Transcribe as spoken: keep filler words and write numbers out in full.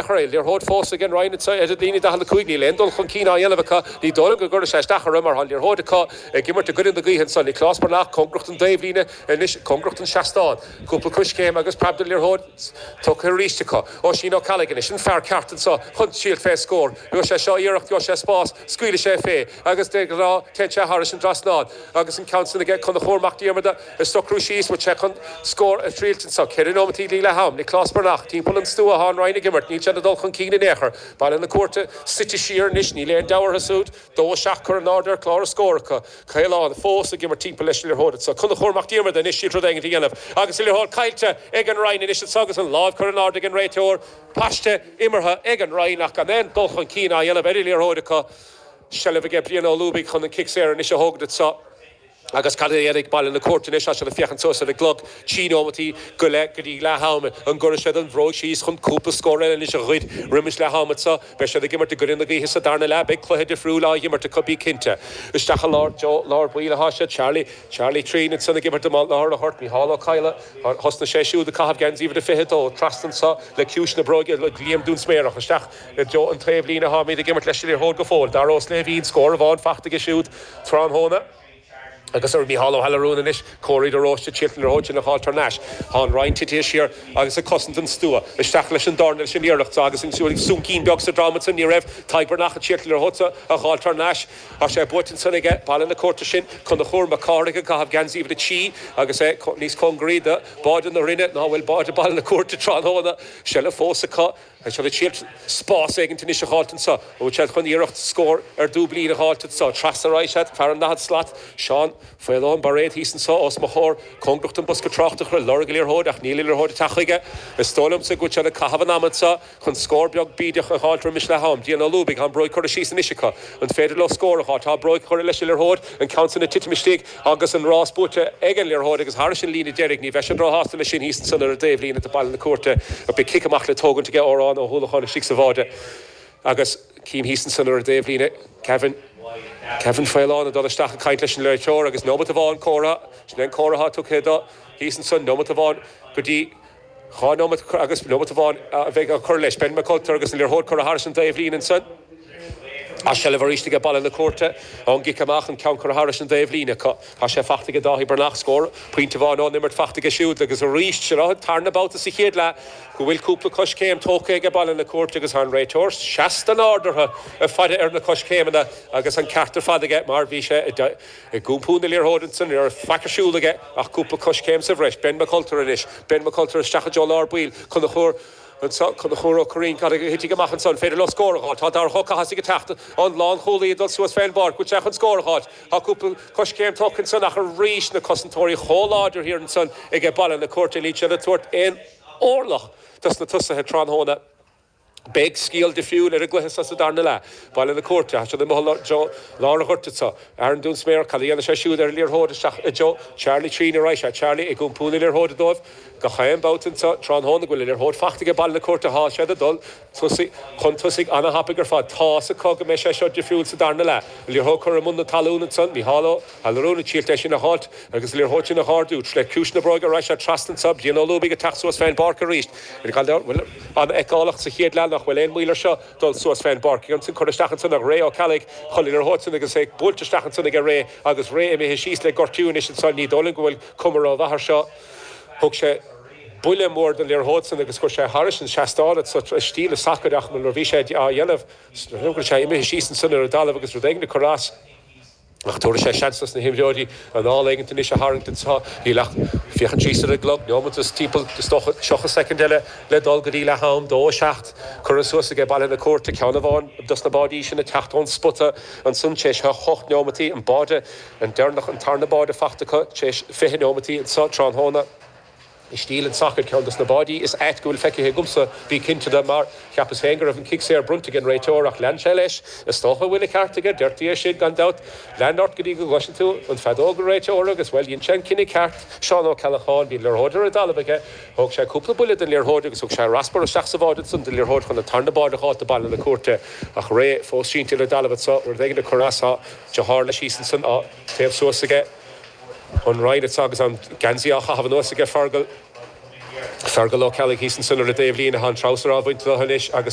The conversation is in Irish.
chor é liathróid fós ag an Rinn ar an líne daichead a cúig níl aon dul chun cinn á dhéanamh acu ní dóigh liom go gcuirfidh sé isteach orthu mar tá an liathróid acu ag imirt i gcoinne na gaoithe ansan Nioclás Breathnach cóngarach don dtaobhlíne anois cóngarach don seastán cúpla coiscéim agus preab den liathróid tugtha arís acu Oisín Ó Ceallaigh anois an fear ceart anseo chun triail fé scór gheobhaidh sé seo iarracht gheobhaidh sé spás scaoilfidh sé fé agus de ghnáth téann sé thairis an trasnán agus an ceann san aige Conchúr Mac Diarmada ag socrú síos bhfuil sé chun scór a thriailt anseo ceithre nóimeataí le leath am Nioclás Breathnach timpeall an stua atá an Rinn ag imirt níl siad ag dul chun cinn in aon chor. Baile na Cúirte suite siar anois níl aon deabhadh orthu siúd dó a seacht curtha in airde ar chlár na scór acu. Caolán fós ag imirt timpeall leis an liathróid anseo. Conchúr Mac Diarmada anois siad rud éigin a dhéanamh agus an liathróid caillte ag an Rinn anois anseo agus an lámh curtha in airde ag an réiteoir. Paiste imeartha ag an Rinn ach gan aon dul chun cinn á dhéanamh ar an liathróid acu. Seilbh aige Brian Ó Lúbaigh chun an cic saor anois a thógaint anseo. Agus cad a dhéanfaidh Baile na Cúirte anois tá siad ag féachaint suas ar an gclog trí nóimeataí go leith go dtí leath ama an gcuirfidh siad an bhróg síos chun cúpla scór eile anois a ghoid roimis leath ama anseo. Beidh siad ag imirt i gcoinne na gaoithe sa darna leath beidh cluiche difriúil á imirt acu bí cinnte. Isteach i lár Joe lár baill atá siad Charlie Charlie Trín ansan ag imirt i lár an ghoirt Micheál Ó Cadhla thosnaigh sé siúd ag caitheamh geansaí uimhir a fiche dó trasna anseo le ciumhais na bróige le Liam Dúnsméarach isteach i dtreo an taobhlíne atáimid ag imirt leis an liathróid go fóill. Dara Ó Sléibhín scór amháin fachta aige siúd tráthnóna. Agus ar Mícheál Ó hAllarún anois Córaí de Róiste tílt an liathróid sin a fháil thar n-ais. Tá an Rinn tite siar agus ag cosaint an stua. Isteach leis an dorn leis an iarracht agus an súncín beag sa drom ansan ní raibh Tadhg Breathnach ag triail an liathróid a fháil thar n-ais. Tá sé buaite ansan aige Baile na Cúirte sin Conchúr Mac Cárthaigh ag caitheamh geansaí uimhir a trí agus é níos cóngaraí do báide na Rinne ná bhfuil báide Baile na Cúirte tráthnóna. Seilbh fós acu. Tá siad ag triail spás éigin anois a fháilt anseo. Bhfuil siad chun iarracht scór ar dúblín a fháilt anseo. Trasna ar aghaidh siad fear an daichead slat Seán Faolán Bairéad thíos anseo os mo chomhair cóngarach don bosca tráchtaireachta ag lorg an liathróid ach níl an liathróid ag teacht chuige. Is dóigh liomsa go bhfuil siad ag caitheamh an ama anseo chun scór beag bídeach a fháilt roimis leath am. Brian Ó Lúbaigh tá an bróig curtha síos anois acu. An féidir leo scór a fháil Tá bróig curtha leis an liathróid an ceann sin ag titim istigh agus an rás buaite ag an liathróid agus thairis an líne deiridh ní bheidh siad róshásta leis sin thíos ansan ar an dtaobhlíne do Baile na Cúirte a beidh cic amach le tógaint aige Órán Ó hUallacháin istigh sa bháide agus cím thíos ansan ar an dtaobhlíne Kevin Kevin Faolán ag dul isteach ag caint leis an réiteoir agus nóimeat amháin comhartha sin an comhartha tugtha dó thíos ansan nóimeat amháin go dtí dhá nóimeat agus nóimeat amháin a bheidh á chur leis Ben McCulter agus an liathróid curtha thairis an dtaobhlíne ansan. Tá seilbh arís aige Baile na Cúirte ón gcic amach an ceann curtha thairis an dtaobhlíne acu. Tá sé fachta aige Dáithí Breathnach scór pointe amháin ón imirt fachta aige siúd agus arís sin an tarna babhta sa chéad leath go bhfuil cúpla coiscéim tógtha aige Baile na Cúirte agus an réiteoir seasta nádúrtha ag faire ar na coiscéimeanna agus an ceart ar fad aige mar bhí sé ag iompú na liathróide ansan ar faic ar siúl aige ach cúpla coiscéim sa bhreis. Ben McCulter anois. Ben McCulter isteach i dtreo lár baill Conchúr Anseo Conchúr Ó Curraoin cad a thitfidh amach ansan an féidir leo scór a fháil. Tá Darach Ó Cathasaigh ag teacht an lánchúlaí ag dul suas fén bpáirc bhfuil sé chun scór a fháil. Tá cúpla coiscéim tógtha ansan ach arís na cosantóirí chomh láidir thiar ansan ag Baile na Cúirte níl siad ag tabhairt aon orlach dos na tosaithe tráthnóna. Beidh scéal difriúil ar an gcluiche sa darna leath. Baile na Cúirte, tá siad amuigh i lár an ghoirt anseo. Aaron Dúnsméar, cad a dhéanfaidh sé siúd ar an liathróid isteach i dtreo Charlie Trín ar aghaidh sé. Charlie ag iompú na liathróide dóibh. Gach aon babhta anseo tráthnóna go bhfuil an liathróid fachta ag Baile na Cúirte tá siad ag dul tosaigh chun tosaigh an-thapaidh ar fad. Tá's acu go mbeidh sé seo difriúil sa darna leath. An liathróid curtha i mbun na talún ansan, Micheál Ó hAllarún ag triail é sin a fháilt agus an liathróid sin a ardú. Le ciumhais na bróige ar aghaidh sé trasna anseo, Brian Ó Lúbaigh ag teacht suas fén bpáirc arís. Bhuel an-fheiceálach sa chéad leath nach bhfuil aon mhoill air seo dul suas fén bpáirc. Ansin curtha isteach ansan ag Ray Ó Ceallaigh chun an liathróid sin agus é buailte isteach ansan ag Ray agus Ray imithe síos le gortú anois ansan ní dóigh liom go bhfuil cuma rómhaith air seo. Thug sé buille mór don liathróid sin agus chuir sé thairis an seastán sa stíl a sacair ach nuair a bhí sé á dhéanamh go sé imithe síos ansan ar an dtalamh agus rud éigin ag cur as. Ach tabharfaidh sé seans dos na himreoirí anáil éigin anois a tharraingt anseo. Níl ach féachaint síos ar an gclog, neomat is timpeall is dócha tríocha soicind eile le dul go dtí leath am, dó a seacht. Curtha suas aige Baile na Cúirte, ceann amháin dos na báidí sin ag teacht ón spota ansan tar éis a hocht neomataí, an báide an deireanach an tarna báide fachta acu tar éis fiche neomataí anseo tráthnóna. I stíl an tsacair, ceann dos na báidí is ait go bhfuil feicthe agamsa, bí cinnte de, mar cheapas féin go raibh an cic saor bronnta ag an réiteoir ach lean sé leis. Is dócha go bhfuil an ceart aige, deirtí é sin gan dabht. Lean ort go dtí go gcloiseann tú an feadóg an réiteora agus, bhuel, dhein sé an cinneadh ceart. Seán Ó Ceallacháin, bhí an liathróid ar an dtalamh aige, thóg sé cúpla buille den liathróid agus thug sé raspar isteach sa bháide ansan den liathróid chun an tarna báide a fháil do Baile na Cúirte. Ach Ray fós sínte ar an dtalamh anso, rud éigin ag cur as, tá deartháir leis thíos ansan á téamh suas aige. An Rinn anseo agus an geansaí á chaitheamh anuas aige Fergal. Fergal Ó Ceallaigh thíos ansan ar an dtaobhlíne an treabhsar á bhaint anois agus